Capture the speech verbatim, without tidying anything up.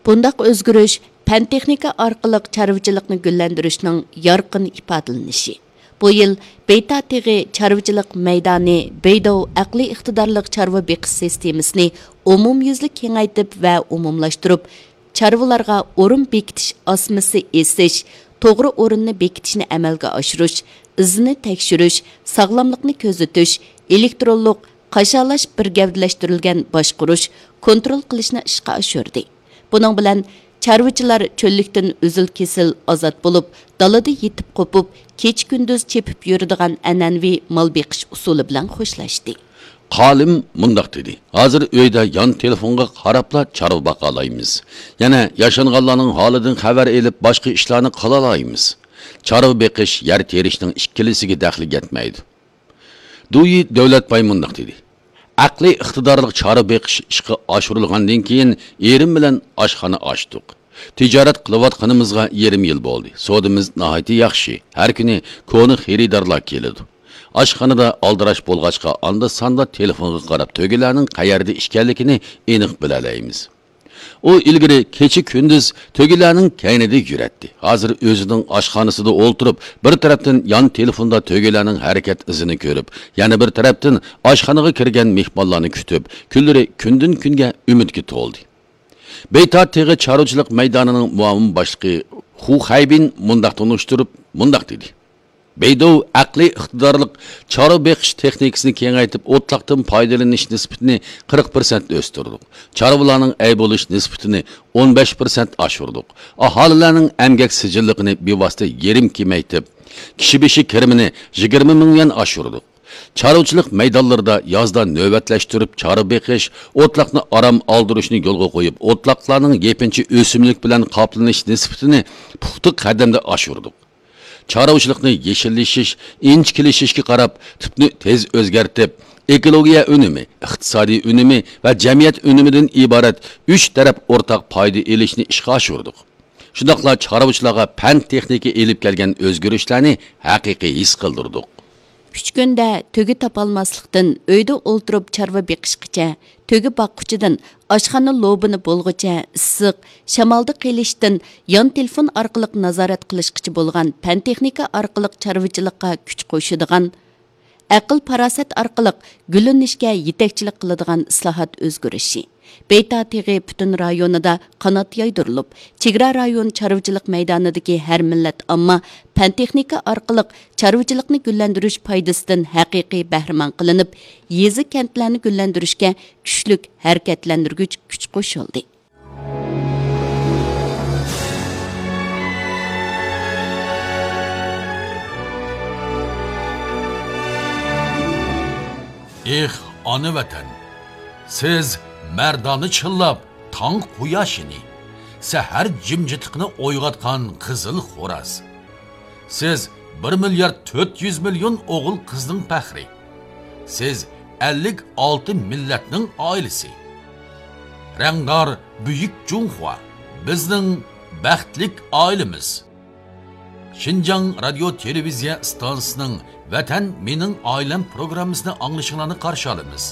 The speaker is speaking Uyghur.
بۇنداق ئۆزگىرىش پەن-تېخنىكا ئارقىلىق چارۋىچىلىقنى گۈللەندۈرۈشنىڭ يارقىن ئىپادىلىنىشى. بۇ يىل بېيتا تېغى چارۋىچىلىق مەيدانى بېيدوۋ ئەقلىي ئىقتىدارلىق چارۋا بېقىش سىستېمىسىنى ئومۇميۈزلۈك كېڭەيتىپ ۋە ئومۇملاشتۇرۇپ، چارۋىلارغا ئورۇن بېكىتىش ئاسمىسى ئېسىش، توغرا ئورۇننى بېكىتىشنى ئەمەلگە ئاشۇرۇش، ئىزنى تەكشۈرۈش، ساغلاملىقنى كۆزىتىش، ئېلېكترونلۇق قاشالاش بىر گەۋدىلەشتۈرۈلگەن باشقۇرۇش، كونترول قىلىشنى ئىشقا ئاشۇردى. بۇنىڭ بىلەن چارۋىچىلار چۆللۈكتىن ئۈزۈل-كېسىل ئازاد بولۇپ، دالىدا يېتىپ قوپۇپ، كېچە-كۈندۈز چېپىپ يۈرىدىغان ئەنئەنىۋى مال بېقىش ئۇسۇلى بىلەن خوشلاشتى. خانىم مۇنداق دېدى: ھازىر ئۆيدە يان تېلېفونغا قاراپلا چارۋا باقالايمىز. يەنە ياشانغانلارنىڭ ھالىدىن خەۋەر ئېلىپ، باشقا ئىشلارنى قىلالايمىز. چارۋا بېقىش، يەر تېرىشنىڭ ئىككىلىسىگە دەخلى يەتمەيدۇ. دۇيى دۆلەتباي مۇنداق دېدى: ئەقلىي ئىقتىدارلىق چارۋا بېقىش ئىشقا ئاشۇرۇلغاندىن كېيىن، ئېرىم بىلەن ئاشخانا ئاچتۇق. تىجارەت قىلىۋاتقىنىمىزغا يېرىم يىل بولدى. سودىمىز ناھايىتى ياخشى. ھەر كۈنى كونا خېرىدارلار كېلىدۇ. ئاشخانىدا ئالدىراش بولغاچقا، ئاندا-ساندا تېلېفونغا قاراپ، تۆگىلەرنىڭ قەيەردە ئىكەنلىكىنى ئېنىق بىلەلەيمىز. ئۇ ئىلگىرى كېچە-كۈندۈز تۆگىلەرنىڭ كەينىدە يۈرەتتى. ھازىر ئۆزىنىڭ ئاشخانىسىدا ئولتۇرۇپ، بىر تەرەپتىن يان تېلېفوندا تۆگىلەرنىڭ ھەرىكەت ئىزىنى كۆرۈپ، يەنە بىر تەرەپتىن ئاشخانىغا كىرگەن مېھمانلارنى كۈتۈپ، كۈنلىرى كۈندىن-كۈنگە ئۈمىدكە تولدى. بېيتا تېغى چارۋىچىلىق مەيدانىنىڭ مۇئاۋىن باشلىقى خۇ خەيبىن مۇنداق تونۇشتۇرۇپ، مۇنداق دېدى: بېيدوۋ ئەقلىي ئىقتىدارلىق چارۋا بېقىش تېخنىكىسىنى كېڭەيتىپ، ئوتلاقتىن پايدىلىنىش نىسبىتىنى قىرىق پىرسەنت ئۆستۈردۇق. چارۋىلارنىڭ ئەي بولۇش نىسبىتىنى ئون بەش پىرسەنت ئاشۇردۇق. ئاھالىلەرنىڭ ئەمگەك سىجىللىقىنى بىۋاسىتە يېرىم كېمەيتىپ، كىشى بېشى كىرىمىنى يىگىرمە مىڭ يۈەن ئاشۇردۇق. چارۋىچىلىق مەيدانلىرىدا يازدا نۆۋەتلەشتۈرۈپ چارۋا بېقىش، ئوتلاقنى ئارام ئالدۇرۇشنى يولغا قويۇپ، ئوتلاقلارنىڭ يېپىنچا ئۆسۈملۈك بىلەن قاپلىنىش نىسبىتىنى پۇختا قەدەمدە ئاشۇردۇق. چارۋىچىلىقنى يېشىللىشىش، ئىنچىكىلىشىشكە قاراپ، تىپنى تېز ئۆزگەرتىپ، ئېكولوگىيە ئۈنۈمى، ئىقتىسادىي ئۈنۈمى ۋە جەمئىيەت ئۈنۈمىدىن ئىبارەت ئۈچ تەرەپ ئورتاق پايدا ئېلىشنى ئىشقا ئاشۇردۇق. شۇنداقلا چارۋىچىلارغا پەن-تېخنىكا ئېلىپ كەلگەن ئۆزگىرىشلەرنى ھەقىقىي ھېس قىلدۇردۇق. ئۈچ كۈندە تۆگە تاپالماسلىقتىن، ئۆيدە ئولتۇرۇپ چارۋا بېقىشقىچە، تۆگە باققۇچىدىن ئاشخانا لوبىنى بولغۇچە ئىسسىق، شامالدا قېلىشتىن يان تېلېفون ئارقىلىق نازارەت قىلىشقىچە بولغان پەن-تېخنىكا ئارقىلىق چارۋىچىلىققا كۈچ قوشىدىغان، ئەقىل-پاراسەت ئارقىلىق گۈللىنىشكە يېتەكچىلىك قىلىدىغان ئىسلاھات ئۆزگىرىشى. بېيتا تېغى پۈتۈن رايونىدا قانات يايدۇرۇلۇپ، چېگرا رايون چارۋىچىلىق مەيدانىدىكى ھەر مىللەت ئامما پەن-تېخنىكا ئارقىلىق چارۋىچىلىقنى گۈللەندۈرۈش پايدىسىدىن ھەقىقىي بەھرىمەن قىلىنىپ، يېزا-كەنتلەرنى گۈللەندۈرۈشكە كۈچلۈك ھەرىكەتلەندۈرگۈچ كۈچ قوشۇلدى. ئېھ، ئانا ۋەتەن! سىز مەردانە چىللاپ تاڭ قۇياشىنى، سەھەر جىمجىتلىقىنى ئويغاتقان قىزىل خوراز. سىز بىر مىليارد تۆت يۈز مىليون ئوغۇل-قىزنىڭ پەخرى. سىز ئەللىك ئالتە مىللەتنىڭ ئائىلىسى. رەڭدار بۈيۈك جۇڭخۇا، بىزنىڭ بەختلىك ئائىلىمىز. شىنجاڭ رادىيو تېلېۋىزىيە ئىستانسىسىنىڭ ۋەتەن مېنىڭ ئائىلەم پروگراممىسىنى ئاڭلىشىڭلارنى قارشى ئالىمىز.